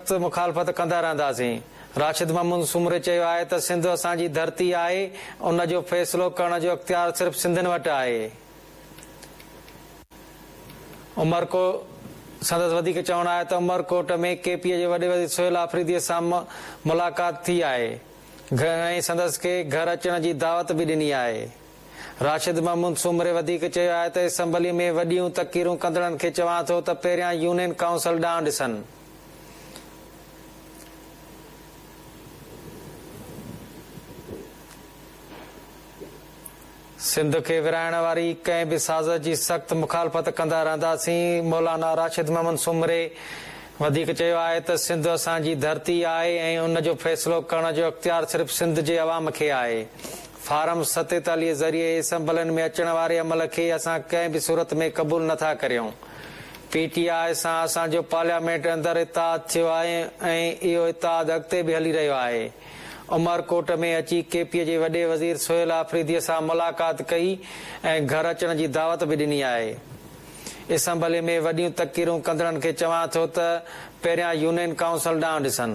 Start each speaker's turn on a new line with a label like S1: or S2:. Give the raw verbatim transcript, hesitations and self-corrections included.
S1: سخت مخالفت ڪندا رهنداسين. راشد محمود سومري چيو آهي ته سنڌ اسان جي ڌرتي آهي، ان جو فيصلو ڪرڻ جو اختيار صرف سنڌين وٽ آهي. عمرڪوٽ سندس وڌيڪ چوڻ آهي ته عمرڪوٽ ۾ ڪي پي جي وڏي وزير سهيل آفريدي سان ملاقات ٿي آهي ۽ سندس کي گهر اچڻ جي دعوت به ڏني آهي. راشد محمود سومري وڌيڪ چيو آهي ته اسيمبلي ۾ وڏيون تقريرون ڪندڙن کي چوان ٿو ته پهريان يونين ڪائونسل ڏانهن ڏسن. سنڌ کي ورهائڻ واري ڪنهن به سازش جي سخت مخالفت ڪندا رهنداسين. مولانا راشد محمد سومري وڌيڪ چيو آهي ته سنڌ اسان جي ڌرتي آهي ۽ ان جو فيصلو ڪرڻ جو اختيار صرف سنڌ جي عوام کي آهي. فارم ستيتاليهه ذريعي اسيمبلين ۾ اچڻ واري عمل کي اسان ڪنهن به صورت ۾ قبول نٿا ڪريون. پي ٽي آء سان اسان جو پارليامينٽ اندر اتحاد ٿيو آهي ۽ اهو اتحاد اڳتي به هلي رهيو آهي. عمرڪوٽ ۾ اچي ڪي پي جي وڏي وزير سهيل آفريدي سان ملاقات ڪئي ۽ گهر اچڻ جي دعوت به ڏني آهي. اسيمبلي ۾ وڏيون تقريرون ڪندڙن کي چوان ٿو ته پهريان يونين ڪائونسل ڏانهن ڏسن.